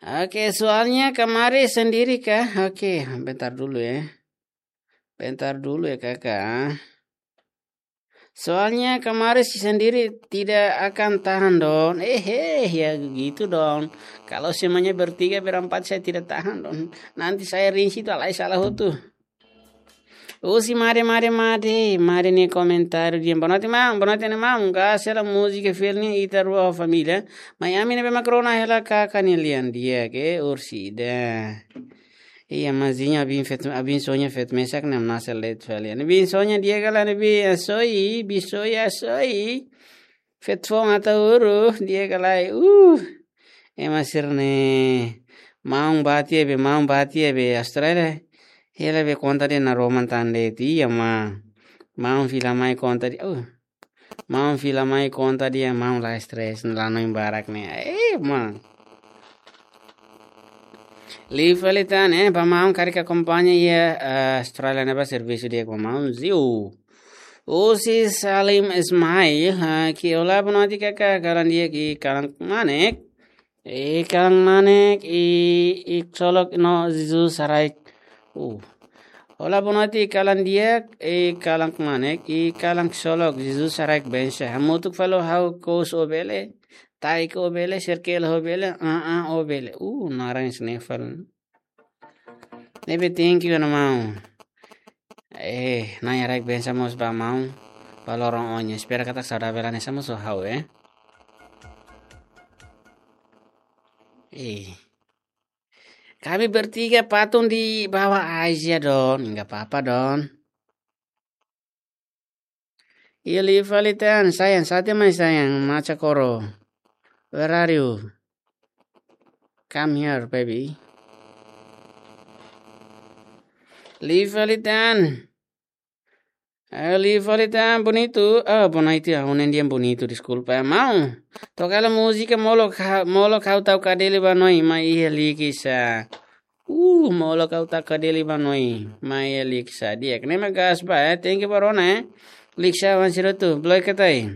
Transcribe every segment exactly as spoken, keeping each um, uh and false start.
Oke, soalnya kemarin sendiri kah? Oke, bentar dulu ya. Bentar dulu ya, Kakak. Soalnya kemarin si sendiri tidak akan tahan, Don. Eh, eh, ya gitu, Don. Kalau semuanya bertiga, berempat, saya tidak tahan, Don. Nanti saya risih tu, alai salah hotu. Husi Made, Made, Made, Made nia komentáriu dehan: Boa noite, maun, boa noite, maun. Gás hela múzika fiel ne'e ita rua ho família. Mai ami ne'ebé mak rona hela, Kakak nia lian di'ak, Ursida. Iya, mazinha, abin feto, abin soña feto mesak nem nasa let fali. Ne'ebé soña di'ak ka lae, ne'ebé, asoi, bi soña, asoi. Feto foun ata uru, di'ak ka lae. Uh. Ema sira-ne'e, maun bá tiha be, maun bá tiha be Austrália. Hela be konta de'it, naroman tan de'it, iya maun. Maun fila mai konta de'it. Uh. Maun fila mai konta de'it, maun la stress, la hanoin barak ne'e. Eh, maun. Liu fali tan, eh, ba maun karik akompaña iha, eh, Austrália ne'ebá servisu di'ak ba maun, ziu. Husi Salim Ismail, ah, ke olá, boa noite, Kakak, kalan di'ak, i kalan manek. I kalan manek, i, i ksolok no Jesus saraik. Uh. Olá, boa noite, kalan di'ak, i kalan manek, i kalan ksolok, Jesus saraik bensa. Hamutuk fali ho ha'u, kous ó bele, taik ó bele, serkel ó bele, ah, ah, ó bele. Uh, naran sneval. Ne'ebé thank you ona maun. Eh, Na'i haraik bensa mós ba maun. Ba loron oin. Espera katak saudavel hanesan mós ho ha'u, eh. Eh. Kami bertiga patung di bawah aja, Don. Enggak apa-apa, Don. Iya, liu fali tan, sayang, sate mai sayang, maca koro. Where are you? Come here, baby. Liu fali tan. Eh, liu fali tan, bonito. Ah, bonito, ah, unen dia bonito, deskulpa. Maun, toka hela múzika molok, molok ha'u tau kadeli ba noi, mai iha likisa. Uh, molok ha'u tau kadeli ba noi, mai iha likisa. Di'ak, ne'e mak gás ba, eh. Thank you ba rona, eh. Likisa wan sira hotu, bloke katai.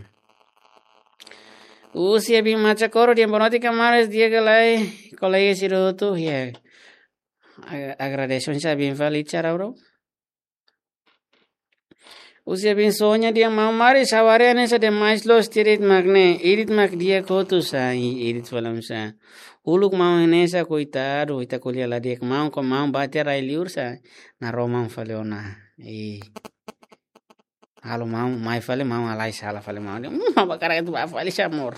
Husi abin maca koro dehan boa noite kamaras, di'ak ka lae, kolega sira hotu, ya. Ag-, agradece husi abin fali cara, bro. Husi abin soña dehan maun Maris, ha'u haree hanesan demais loos tiha de'it mak ne'e, idit mak di'ak hotu sa, i idit fali sa. Uluk maun hanesan koitadu, ita ko'alia la di'ak, maun ko maun bá tiha rai-liur sa, naroman fali ona. I halo maun, mai fali maun, alai sala fali maun. Hmm, apa karak itu ba fali sa amor.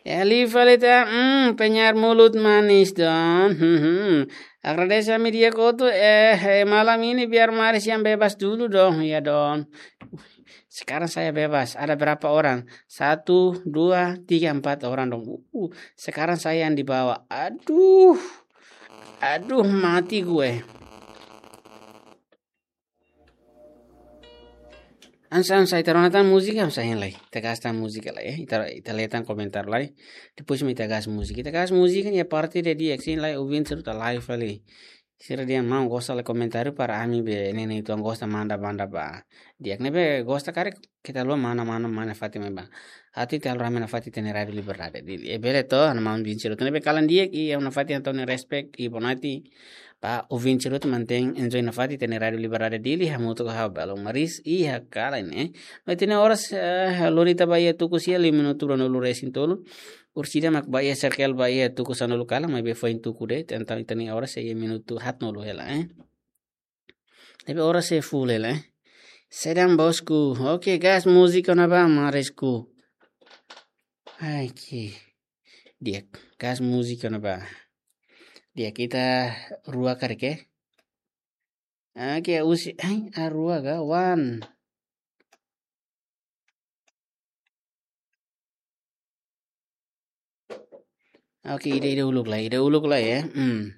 Ya, liu fali tan, hmm, penyair mulut manis, Don. Hmm, hmm. Agradece ami di'ak hotu, eh, eh, malam ini biar Maris yang bebas dulu, Don. Ya, Don. Sekarang saya bebas. Ada berapa orang? Satu, dua, tiga, empat orang, Don. Uh, sekarang saya yang dibawa. Aduh. Aduh, mati gue. Ansa, ansa, ita rona tan múzika, ansa hein lai. Ita gasta múzika lai, eh. Ita, ita lee tan komentáriu lai. Depois mak ita gasta múzika. Ita gasta múzika ne'e parte de dia, sin lai, ouvinte sira hotu live fali. Sira dehan maun gosta la komentáriu para ami be, ne'e, ne'e, ita gosta manda, manda ba. Di'ak ne'ebé gosta karik, keta haluha mana, mana, mana nafatin mai ba. Atu ita halo rame nafatin ita-nia Rádio Liberdade. Di, eh, bele to, ha'u-nia maun ouvinte sira hotu ne'ebé kalan di'ak, i ha'u nafatin hato'o nia respect, i boa noite. Ba ouvinte sira hotu mantein enjoy nafatin ita-nia Rádio Liberdade Dili, hamutuk ho ha'u Belo Maris, i hakarak ne'e. No ita-nia oras, eh, lori ita ba iha tuku sia, lima minutu ruanulu resin tolu. Ursida mak ba iha serkel ba iha tuku sanulu kalan, maibé foin tuku de'it, entaun ita-nia oras sei iha minutu haatnulu hela, eh. Tapi oras sei full hela, eh. Sedang bosku. Oke, gás múzika ona ba, Marisku. Ai, ki. Di'ak, gás múzika ona ba. Di'ak, ita rua karik, eh. Oke, husi, ai, a rua ka, one. Oke, ida, ida uluk lai, ida uluk lai, ya. Hmm.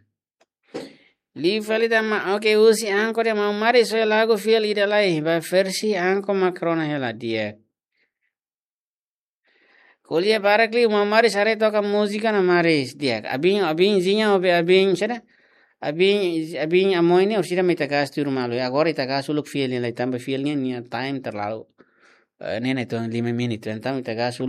Liu fali tan maun, oke, husi Anko dehan maun Maris, soe lagu fiel ida lai, ba versi Anko mak rona hela, di'ak. Ko'alia barak liu, maun Maris haree toka múzika ona Maris, di'ak. Abin, abin, zinha, obe abin, saida? Abin, abin Amoy ne'e, orsida mak ita gasta tuir malu. Agora ita gasta uluk fiel ne'e lai, tanba fiel ne'e nia time terlalu, eh, ne'e, ne'e, tuan lima menit, entaun ita gasta uluk